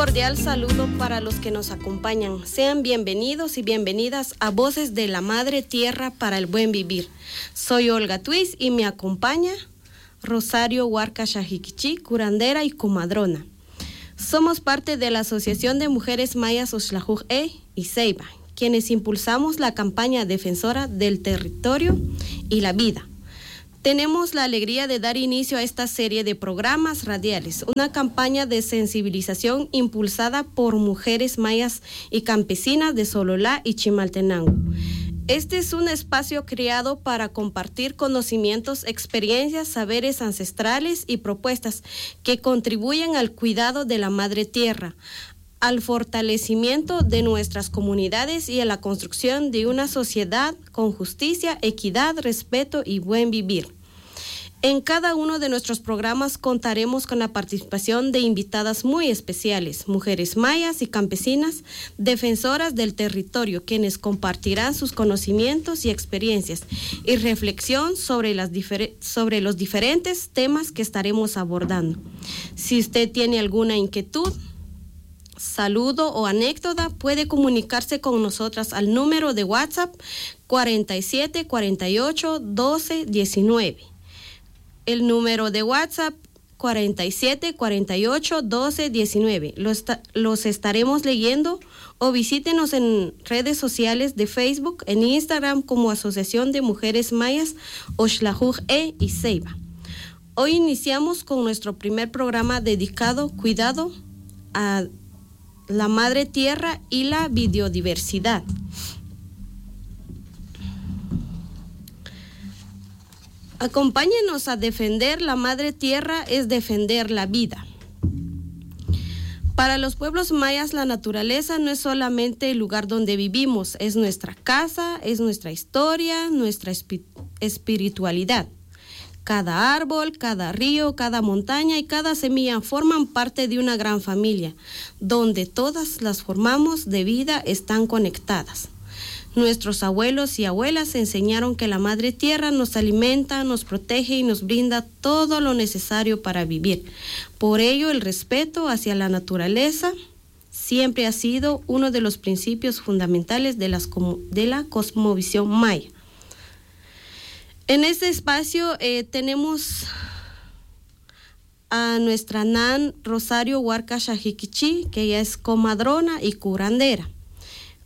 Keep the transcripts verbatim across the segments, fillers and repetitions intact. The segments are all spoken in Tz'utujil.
Cordial saludo para los que nos acompañan. Sean bienvenidos y bienvenidas a Voces de la Madre Tierra para el Buen Vivir. Soy Olga Tuis y me acompaña Rosario Huarca Shajiquichí, curandera y comadrona. Somos parte de la Asociación de Mujeres Mayas Oxlajuj E y Ceiba, quienes impulsamos la campaña defensora del territorio y la vida. Tenemos la alegría de dar inicio a esta serie de programas radiales, una campaña de sensibilización impulsada por mujeres mayas y campesinas de Sololá y Chimaltenango. Este es un espacio creado para compartir conocimientos, experiencias, saberes ancestrales y propuestas que contribuyen al cuidado de la madre tierra, al fortalecimiento de nuestras comunidades y a la construcción de una sociedad con justicia, equidad, respeto y buen vivir. En cada uno de nuestros programas contaremos con la participación de invitadas muy especiales, mujeres mayas y campesinas, defensoras del territorio, quienes compartirán sus conocimientos y experiencias y reflexión sobre las difere-, sobre los diferentes temas que estaremos abordando. Si usted tiene alguna inquietud, saludo o anécdota, puede comunicarse con nosotras al número de WhatsApp cuarenta y siete, cuarenta y ocho, doce, diecinueve. El número de WhatsApp cuarenta y siete, cuarenta y ocho, doce, diecinueve. Los ta-, los estaremos leyendo o visítenos en redes sociales de Facebook, en Instagram como Asociación de Mujeres Mayas Oxlajuj E y Ceiba. Hoy iniciamos con nuestro primer programa dedicado cuidado a la madre tierra y la biodiversidad. Acompáñenos a defender la madre tierra, es defender la vida. Para los pueblos mayas, la naturaleza no es solamente el lugar donde vivimos, es nuestra casa, es nuestra historia, nuestra espi-, espiritualidad. Cada árbol, cada río, cada montaña y cada semilla forman parte de una gran familia, donde todas las formas de vida están conectadas. Nuestros abuelos y abuelas enseñaron que la madre tierra nos alimenta, nos protege y nos brinda todo lo necesario para vivir. Por ello, el respeto hacia la naturaleza siempre ha sido uno de los principios fundamentales de las como-, de la cosmovisión maya. En este espacio, eh, tenemos a nuestra nan Rosario Huarca Shajiquichí, que ella es comadrona y curandera.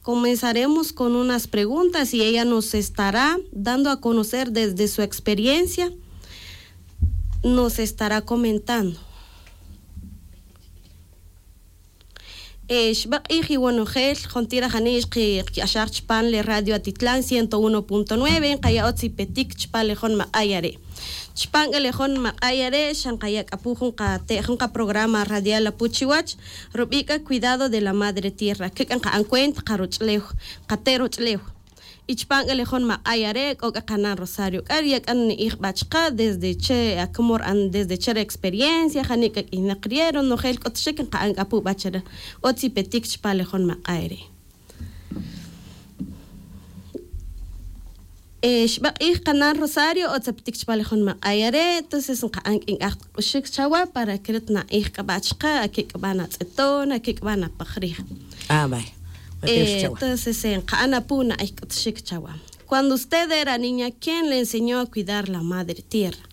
Comenzaremos con unas preguntas y ella nos estará dando a conocer desde su experiencia, nos estará comentando. Eh, xb'e q'ij iwonojel, jontir ajani' xqi-, xqi-, xqaxaj chpan le Radio Atitlán ciento uno punto nueve, nqaya' otz ipetik chpan le jun maq'ay are'. Chpan k'a le jun maq'ay are', xa nqaya' k'a pu jun qate', jun qaprograma radial apu chiwach, rub'i' k'a Cuidado de la Madre Tierra, ke k'a nqa'an cuenta qaroch'ulew, qate' roch'ulew. Y chpan k'a le jun maq'ay are', k'o k'a qanan Rosario k'a, rya'kan ni'ij b'a chqa desde che, a, como ra'an, desde che re experiencia, jani' k'a k'iyneq rye', ronojel k'ut xik nqa'an k'a pu b'a chre'. Otz ipetik chpan le jun maq'ay re'. Eh, xb'e q'ij qanan Rosario, otz apetik chpan le jun maq'ay are', entonces nqa'an k'a nk'aj k'uxik chawa para que ret na'ij k'a b'a chqa, a kik' k'a b'a natz'eton, a kik' k'a b'a napaj rij. Ah, vale. Eh, entonces, eh, nqa'an apu na'ij k'uxik chawa. Cuando usted era niña, ¿quién le enseñó a cuidar la madre tierra?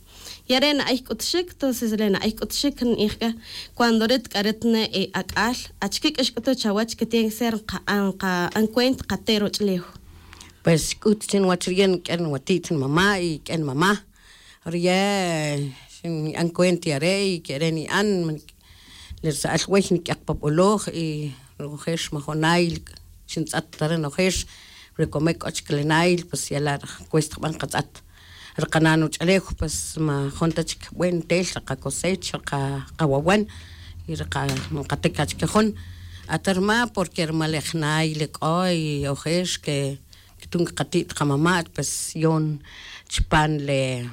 Y are' na'ij k'uxik, entonces re na'ij k'uxik ni'ij k'a, cuando ret k'a ret ne, eh, ak'al, achike k'a xk'utuj chawach que tiene que ser nqa'an, nqa'an cuenta qate' roch'ulew. Pues xk'ut chi nwach rye' k'e nwati't nmama' y k'e nmama'. Rye' xin'an cuenta yare' y kere' ni'an, le rsa'al wey nik'yaq pa b'oloj y nojex majonay xintz'at ta re nojex, re komik k'o chik le nayl, pues ya la' cuesta jub'a' nqatz'at. Re qana' nuch'ulej, pues majun ta chik buen ntel re qacosecha, re qa-, qawawan y re qa-, nqatik achike jun. Ata rma, porque rma le jnayl le k'o y ojex que, que tun kqati't qamama', pues yon chpan le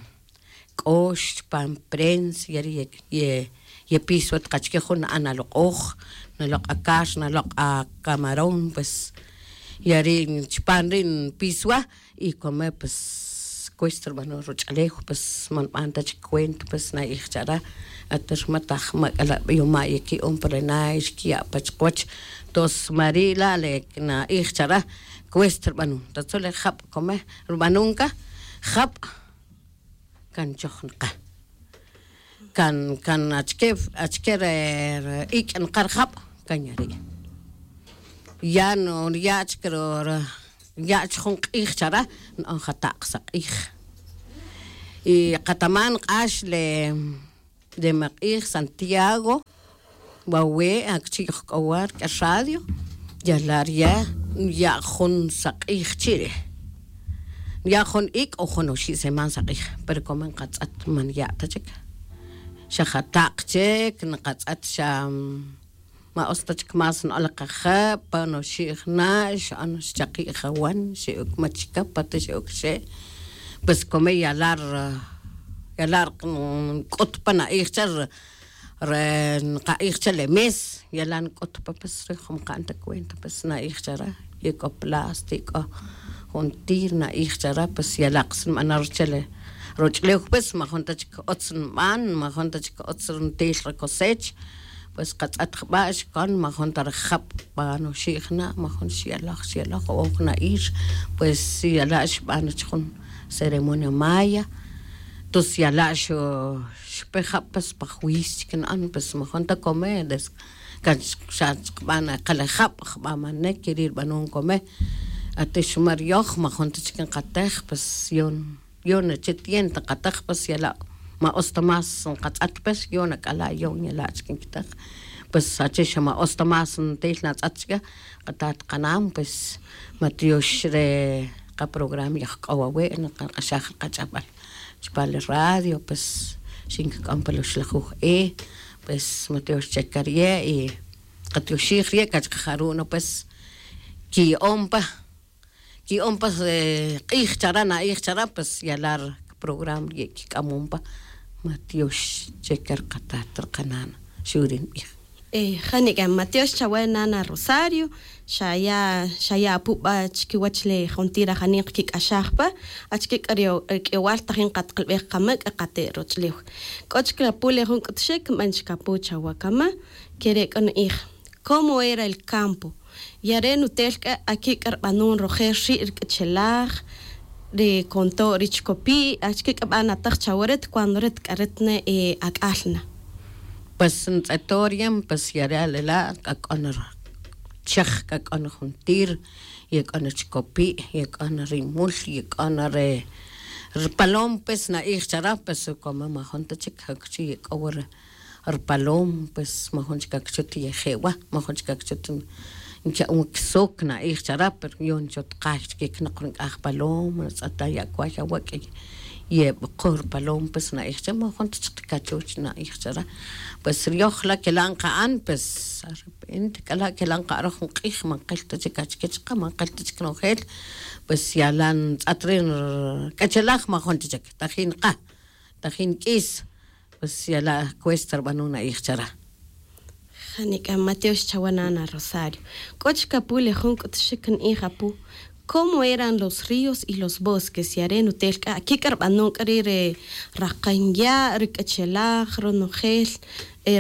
k'ox, chpan prensa, yari' ye, ye, yepiswa taq achike jun na'an aloq'oj, naloq' akar, naloq' acamarón, pues yari' chpan ri' npiswa y come, pues cuesta rbanon ruch'alew, pues ma nb'an ta chik cuenta, pues na'ij chare. Ater ma taj ma k'ala' b'iyoma' yeki'on pa re na xkiya' pa chiqwach. Tos mari' la' le na'ij chare, cuesta rbanon. Tatzol le jab' come rbanon ka, jab' kan choj nqa. Kan kan achike achike re ik' nqa rjab', kan yari'. Ya no ya' chik ro ya' chik jun q'ij chare, na'on jata'q saq'ij. Y qataman k'ax le le maq'ij Santiago, wawe' akchi' yojk'owa rk'e radio, yala' rye' ya' jun saq'ij chi' re'. Ya' jun ik' o jun oxi' seman saq'ij, pero como nqatz'at ma nya' ta chik. Xa jata'q chik nqatz'at xa ma utz ta chik más na'on le qajab', pan oxi' jna' xa'on xchaqi' jawan, xe'ok machika pata xe'ok xe'. Pues come yala' yala' nk'ut pa na'ij che re nqa'ij che le mes, yala' nk'ut pa, pues re jun mqa'n ta cuenta, pues na'ij chare. Ye k'o plástico, juntir na'ij chare, pues yala' qas nb'ana' rchele roch'ulew, pues majun ta chik utz nb'an, majun ta chik utz ntel re cosech. Pues qatz'at jb'a' xkon majun ta re jab' b'an oxi' jna', majun xyalaj xyalaj o jna'ir. Pues yala' xb'an chi jun ceremonia maya. Tos yala' xpe jab', pues pa juis chik na'an, pues majun ta come des kan xa chqb'an qalejab' jb'amanek keri' rb'anon come. Atix mar yoj majun ta chik nqatej, pues yon yon che tienta nqatej, pues yala' ma utz ta más nqatz'at, pues yon ak'ala' yon yala' chik nkitej. Pues achi xa ma utz ta más ntel natz'at chike, qatat qanan, pues ma tyox re qaprograma yojk'ow awe' nqaq'axaj qach'ab'al chupan le radio, pues xinkik'am pa luxlajuj e. Pues ma tyox che ka rye' y qatyoxij rye' kach qajaru' no, pues kiya'on pa kiya'on pa q'ij chare, na'ij chare, pues yala' re programa rye' kik'amon pa. Ma tyox che ka rqatat rqanan, xu' ri nb'ij. Janik'a ma tyox chawe nana Rosario. Xaya' xaya' apu b'a chikiwech le jontir ajanik kik'axaj pa. Achike k'a ri k'ewal tajin qatqalb'ej qama' k'a qate' roch'ulew. K'o chik apu le jun k'utxik nb'an chik apu chawe kama. Kere' k'o na'ij, cómo era el campo. Yare' nutel k'a akik'a rb'anon rojel ri' ri k'achelaj, ri konto' ri chikopi', achike k'a b'a nataj chawe ret cuando ret k'a ret ne ak'al na. Pues ntz'eto' riyen, pues yare' ale la' k'a k'o na rchaj, k'a k'o na juntir, ye k'o na chikopi', ye k'o na rimul, ye k'o na re rpalom, pues na'ij chare, pues como majun ta chik jakchi ye k'o wa re rpalom, pues majun chik akchut yeje' wa, majun chik akchut nka'on wa kisok, na'ij chare, pero yon chotqay chik ye kinoq ri nk'aj palom, natz'ata ya' kway awak' yeb'oqo rpalom, pues na'ij che majun ta chik kachuch, na'ij chare. Pues ri yoj la' kela' nqa'an, pues arrepente k'ala' kela' nqa'an roj jun q'ij, ma nqil ta chik achike chaqe, ma nqil ta chik nojel. Pues yala' ntz'at ri k'achelaj, majun ta chik tajin qa, tajin k'is. Pues yala' cuesta rb'anon, na'ij chare. Janik'a ma tyox chawe nana Rosario. K'o chik apu le jun k'utxik na'ij apu, cómo eran los ríos y los bosques. Yare' nutel k'a akik'a rb'anon k'a ri' re raqan ya', ri k'achelaj, ronojel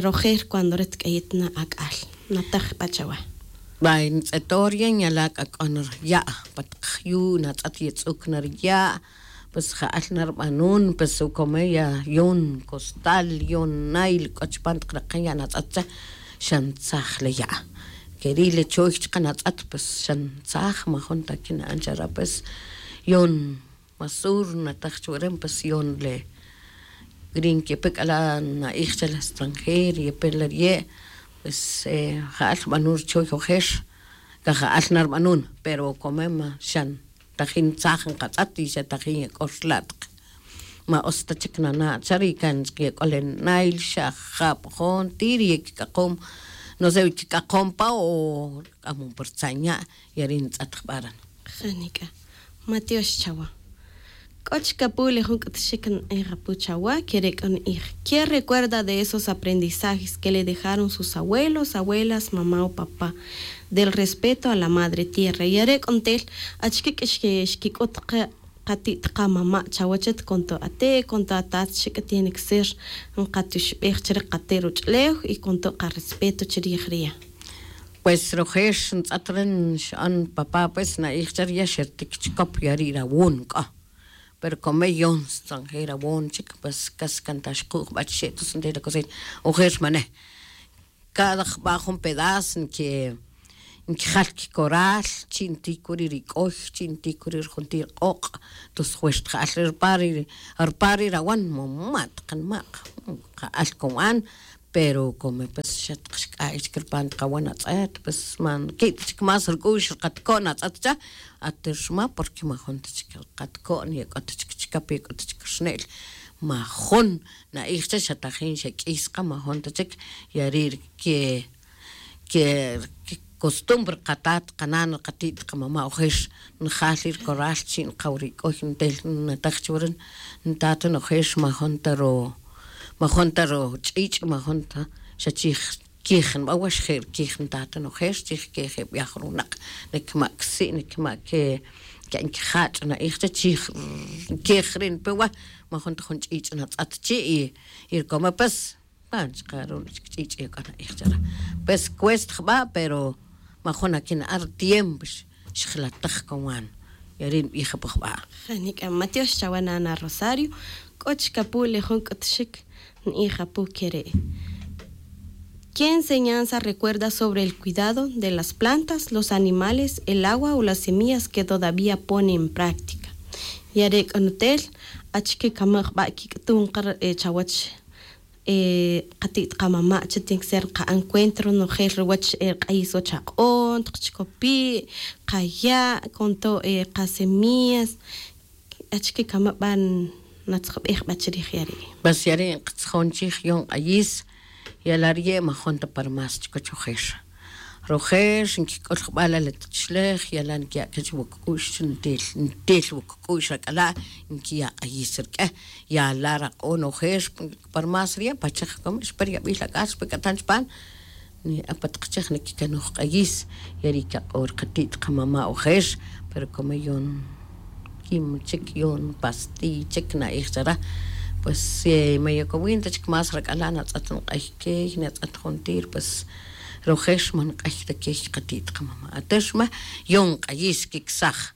rojel cuando ret k'a yet na ak'al. Nataj b'a chawe. B'ay ntz'eto' riyen yala' k'a k'o na ri ya' pa taq jyu', natz'at yetz'uk na ri ya'. Pues ja'al na rb'anon, pues ukome ya yon costal, yon nail k'o chupan taq raqen ya' natz'at che, xa ntzaj le ya'. Keri' le choy chaqe natz'at, pues xa ntzaj, majun ta kina'an chare, pues yon masur nataj chuwa re, pues yon le ri nkepe k'ala' na'ij che le extranjero yepe le rye'. Pues ja'al rb'anon rchoy ojer, ka ja'al na rb'anon, pero ukome ma xa tajin tzaj nqatz'at y xa tajin ye k'o rla' taq. Ma utz ta chik nana' cha ri kan chik ye k'o le nail xa jab' jontir ye kik'aqom, no sé, kik'aqom pa o k'amon pa rtzan ya'. Ya ri' ntz'at jb'a' ran. Janik'a ma tyox chawa. K'o chik apu le jun k'utxik na'ij apu chawa, kere' k'o na'ij: ¿Qué recuerda de esos aprendizajes que le dejaron sus abuelos, abuelas, mamá o papá, del respeto a la madre tierra? Ya re' k'o ntel achike k'a xkik'ut qa qati't qamama' chawech, con todo ate' con todo atat xik'a tiene que ser nqatioxb'ej chire qate' ruch'lew y con todo qarespeto chirij riya'. Pues rojer ntz'at re nxa'on papá pues na'ij che riya' xertik chikop yari' rawon k'a. Pero kome yon xtzanjej rawon chik pues kas kan ta xku' jb'a chixe'to sentej la cocina. Ojer xmanej cada jb'a jun pedaz nke nkejal kikoral chi' ntikuri' rik'oy chi' ntikuri' rjuntir q'oq'. Tos jwex tja'al re rpa ri rpa ri rawan mama' taqanma' qa'al kowan. Pero kome pues xa taq xk'a'ay chik rpa nti qawan atz'et pues ma nki' ta chik más rk'u'x rqatko'n atz'et cha'. Ater rma porque ma jun ta chik rqatko'n ya k'o ta chik chikap ya k'o ta chik rxne'l. Ma jun na'ij cha xa tajin xa k'is qa ma jun ta chik. Yari' rke ke costumbre qatat qanan qati't qamama' ojer njal ri rkoral chi' nqaw ri k'oy ntel nataj chuwa ri ntat nojer ma jun ta ro ma jun ta ro ch'ich' ma jun ta xa chij kij nb'a wa xje' rkij ntat nojer chij kej e b'yaj runaq. Nikma' ksi' nikma' ke ke nkijach' na'ij cha chij kej ri npe wa ma jun ta jun ch'ich' natz'at chi' y rkome pues pan chqa' ru'l chik ch'ich' ya k'a na'ij chara. Pues cuesta jb'a pero ma jun akina'an ri tiempo xjlataj kowan. Yari' nb'ij apo jb'a. Janik'a matiox chawa nana rosario. K'o chik apu' le jun k'utxik nb'ij apu' kere'. ¿Qué enseñanza recuerda sobre el cuidado de las plantas, los animales, el agua o las semillas que todavía pone en práctica? Yare' k'o nutel achike kama' jb'a' kik'tun qa chawach qati't qamama' che tiene que ser qa'an cuenta ronojel ruwach rq'ayis wach aq'on taq chikopi' qaya' con todo qasemillas. Achike kama' b'a natzjb'ej b'a chirij yari'? Pues yari' nqatzjon chij yon q'ayis. Yala' riye' ma jun ta pa ri más chikiwach ojer. Rojer nkik'ul jb'a' la le tuchlej yala' nkiya' kech wuk k'u'x ntel ntel wuk k'u'x rak'ala' nkiya' q'ayis rk'e. Yala' raq'on ojer pa ri más riye' pa chej kome xpe ri yab'il ak'al xpe k'atan chupan. Ni apa taq chej nikikanuj q'ayis. Yari' kaq'or qati't qamama' ojer. Pero kome yon kim chik yon pastiy chik na'ij chara. Pues ma yokowin ta chik más rak'ala' natz'at nq'ay key natz'at juntir pues rojer ma nq'ay ta key qati't qamama' ater xma yon q'ayis kiksaj.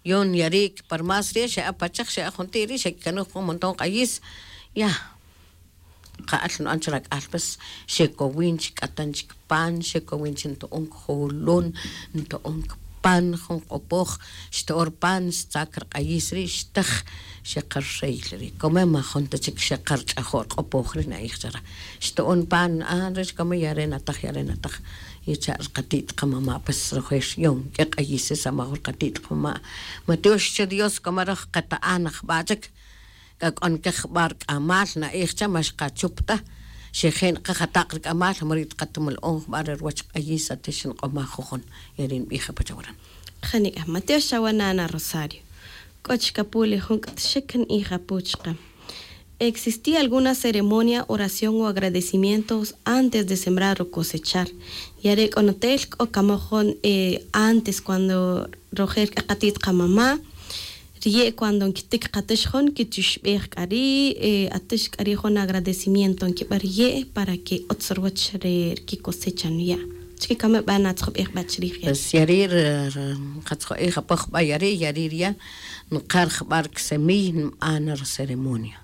Yon yari' pa ri más ri' xe'a pa chej xe'a juntir ri' xekikanuj jun montón q'ayis. Ya qa'al nb'an chi rak'al pues xekowin chi k'atan chik pan xekowin chi nto'on kjolon nto'on kipan jun q'opoj. Xto'on ri pan xtzak ri q'ayis ri' xtej. Xeqa ri rey ri' kome ma jun ta chik xeqa ri ch'ajo' ri q'opoj ri' na'ij chara. Xto'on pan a ri' kome ya re' nataj ya re' nataj. Y cha' ri qati't qamama' pues rojer yon k'e q'ayis ri samaj ri qati't qamama'. Ma tiox chi dios kome roj qeta'an ajb'a' chik. K'a k'o nkeq jb'a' rk'amal na'ij cha ma xqachup ta. Xeje' nqaja taq rk'amal ma ri' tqatumalo'on jb'a' re ruwach q'ayis ate xinq'omaj jujun. Yari' nb'ij apa chawaran. Janik'a matiox chawa nana rosario. K'o chik apu' le jun k'utxik nb'ij apu' chaqe. Existía alguna ceremonia oración o agradecimientos antes de sembrar o cosechar? Yare' k'o nutel k'o kamoj jun antes cuando rojel k'a qati't qamama'. Riye' cuando nkitik qatix jun kitixb'ej k'a ri' atix k'a ri' jun agradecimiento nkib'an riye' para que utz ruwach re kikosecha nuya'. Chike kame b'a natzjob'ej b'a chrij ya. Pues yari' nqatzjob'ej apo jb'a' yari' yari' riya' nqar jb'a' ri ksemiy nb'an ri ceremonia.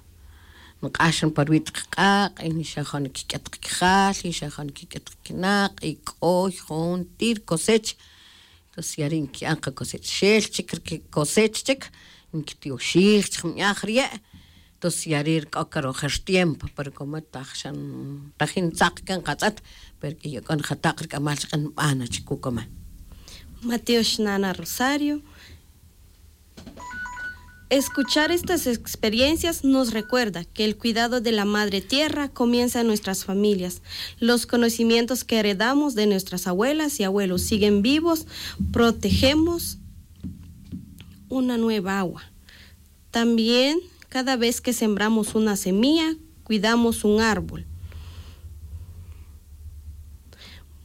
Nq'ax na pa ruwi' taq q'aq' y xa jun kik'et qakajal y xa jun kik'et qakinaq' y k'oy juntir cosech. Entonces yari' nki'an qakosech xel chik ri kikosech chik. Nkitioxij chik nb'aj riye'. Entonces yari' ri k'o karojer tiempo pero como taj xa tajin ntzaq kan qatz'et. Pero k'o yak'on jataq ri k'amal chik nb'an na chik kukome. Matiox nana rosario. Escuchar estas experiencias nos recuerda que el cuidado de la madre tierra comienza en nuestras familias. Los conocimientos que heredamos de nuestras abuelas y abuelos siguen vivos. Protegemos una nueva agua. También cada vez que sembramos una semilla cuidamos un árbol.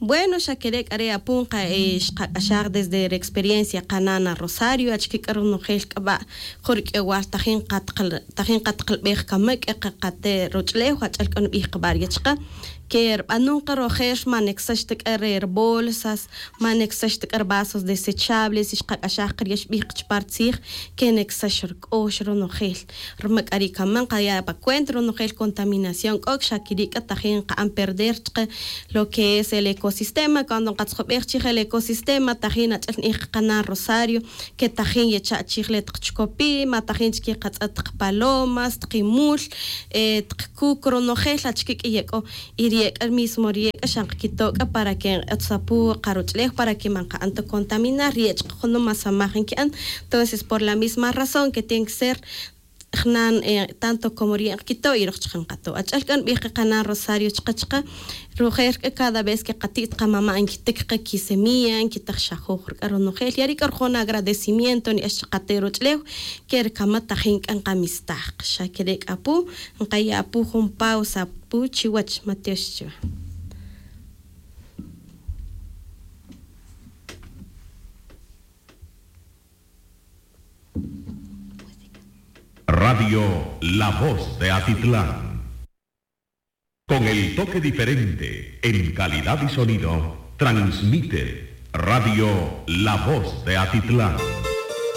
Bueno, xa kere' k'a re' apu nqa xqaq'axaj desde re experiencia qana' na rosario achike k'a ronojel k'a ba' jun rik'ewal tajin qatqalbej kama' k'a qaqate' roch'ulew ach'el k'a nbij qa ba' ri' chaqa' ke rb'anun qa rojel ma neksax ta k'a re ri bolsas, ma neksax ta k'a ri vasos desechables y xqaq'axaj qa ri' xb'ij qa chupa' ri tzij ke neksax ri k'ox ronojel. Ruma k'a ri' kama' nqaya' pa cuenta ronojel contaminación k'o xa kiri' k'a tajin nqa'an perder chaqa' lo que es el ecosistema. Cuando nqatzjob'ej chij el ecosistema tajin ach'el nb'ij qa qana' rosario ke tajin yecha' chij le taq chkopi' ma tajin chik yeqatz'at taq palomas taq imul, taq kuk ronojel achike k'a ye k'o. Y ri ye' k'a mismo ri ye' k'a xa nqakito' k'a para ke nq'et sapu' qa roch'ulew para ke ma nqa'an ta contaminar ri ye' chaq junum ma samaj nki'an. Entonces por la misma razón ke tiene ke ser jnan tanto como ri ye' nqakito' y roj chaq nqato' ach'el k'a nb'ij qa qana' rosario chaqa' chaqa' rojel k'a cada vez ke qati't qamama' nkitik qa kisemilla nkitaj xajoj ri k'a ronojel ya ri' k'a rojona agradecimiento nb'ix chaqa' te' roch'ulew ke ri kama' tajin k'a nqamistaj qa xa kere' k'a pu nqaya' pu jun pausa pu chiwach matiox chiwa. Radio La Voz de Atitlán. Con el toque diferente en calidad y sonido, transmite Radio La Voz de Atitlán.